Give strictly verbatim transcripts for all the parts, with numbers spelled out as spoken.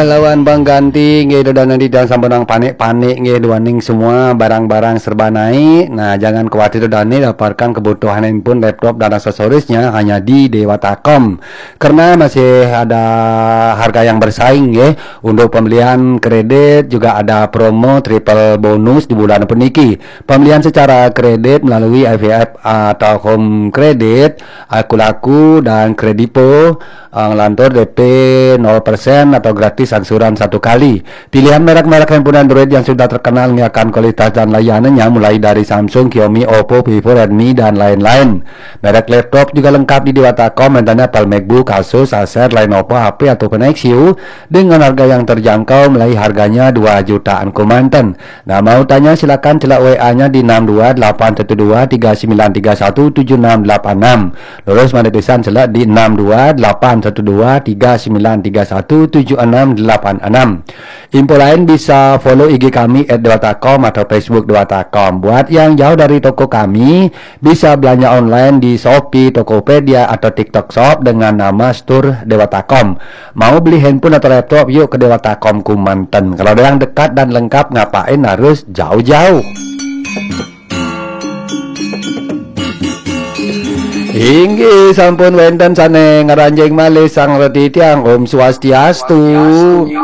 Lawan pengganti nggih, Ida Dani, jangan sampai nang panik-panik nggih, duaning semua barang-barang serba naik. Nah, jangan khawatir, Ida Dani, dapatkan kebutuhan handphone, laptop, dan aksesorisnya hanya di Dewata Com. Karena masih ada harga yang bersaing nggih. Untuk pembelian kredit juga ada promo triple bonus di bulan puniki. Pembelian secara kredit melalui I V F atau Home Credit, Akulaku, dan Kredivo, eh, lantur D P nol persen atau gratis angsuran satu kali. Pilihan merek-merek handphone Android yang sudah terkenal nggih akan kualitas dan layanannya, mulai dari Samsung, Xiaomi, Oppo, Vivo, Redmi, dan lain-lain. Merek laptop juga lengkap di Dewata Com, antaranya Apple MacBook, Asus, Acer, Lenovo, H P, ataupun Nexus dengan harga yang terjangkau, mulai harganya dua jutaan kemanten. Nah, mau tanya, silakan celak W A-nya di enam dua delapan satu dua tiga sembilan tiga satu tujuh enam delapan enam. Lurus mani tulisan celak di enam dua delapan satu dua tiga sembilan tiga satu tujuh enam delapan enam. Info lain bisa follow I G kami at dewata com atau Facebook Dewata Com. Buat yang jauh dari toko kami, bisa belanja online di Shopee, Tokopedia, atau TikTok Shop dengan nama Store Dewata Com. Mau beli handphone atau laptop, yuk ke Dewata Com kemanten. Kalau ada yang dekat dan lengkap, ngapain harus jauh-jauh? Inggih, sampun wenten sane ngranjing malih Sang Reti Tiang. Om Swastiastu.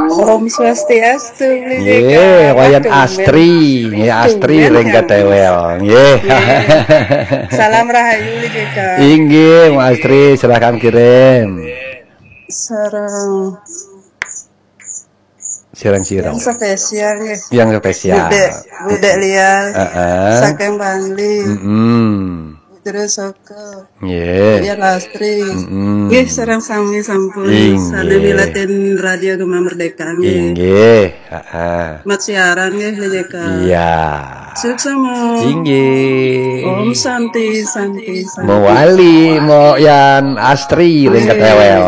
Om Swastiastu, Bli Nggih, Jeka. Wayan Astri. Nggih, Astri ring ketewel. Nggih. Salam rahayu, Bli Jeka. Inggih, Mas Astri, silahkan kirim. Sareng Sirang-sirang. Yang spesial nggih. Yang spesial. Budek, budek liar. Heeh. Saking Bangli. Mm-mm. Terus Soko. Nggih. Ya Lastri. Mm-mm. Nggih, sareng sami sampun. Inggih. Sami milatin Radio Gema Merdeka nggih. Inggih. Heeh. Mat siaran nggih, Bli Jeka. Iya. Suksma. Inggih. Om Santi, Santi, Santi. Mewali, mo yan Astri ring ketewel.